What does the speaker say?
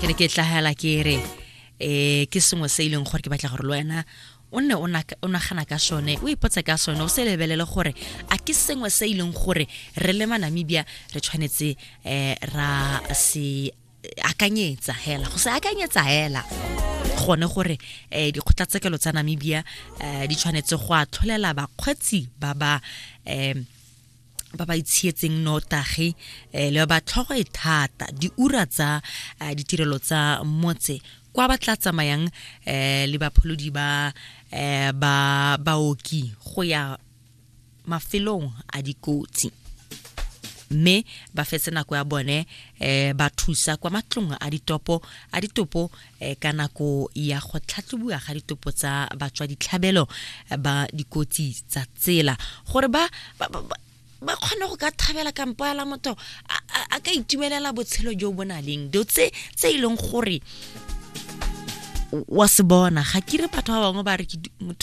Ke ne ke tlagela ke re um ke sengwe se e leng gore ke batla gore le wena o nne o nagana ka sone, o ipotse ka sone, o se lebelele gore a ke sengwe se e leng gore re le Manamibia re tshwanetse um ra se akanyetsa hela, go se akanyetsa hela gone gore um dikgotlatshekelo tsa Namibia um di tshwanetse go atlholela bakgweetsi ba ba um ba ba itshietseng notagi le ba tlhogo e thata diura tsa ditirelo tsa motse kwa ba tla tsamayang le bapholodi ba ba baoki go ya mafelong a dikotsi, mme ba fetse nako ya bone ba thusa kwa matlong a ditopo a ditopo ka nako ya go tlhatlhobiwa ga ditopo tsa batswa ditlhabelo ba dikotsi tsa tsela, gore ba ba kgone go ka thabela kampo ya la motho a ka itumelela botshelo jo bo na leng dilo tse tse e leng gore wa se bona. Ga ke re batho ba bangwe ba re ke motho.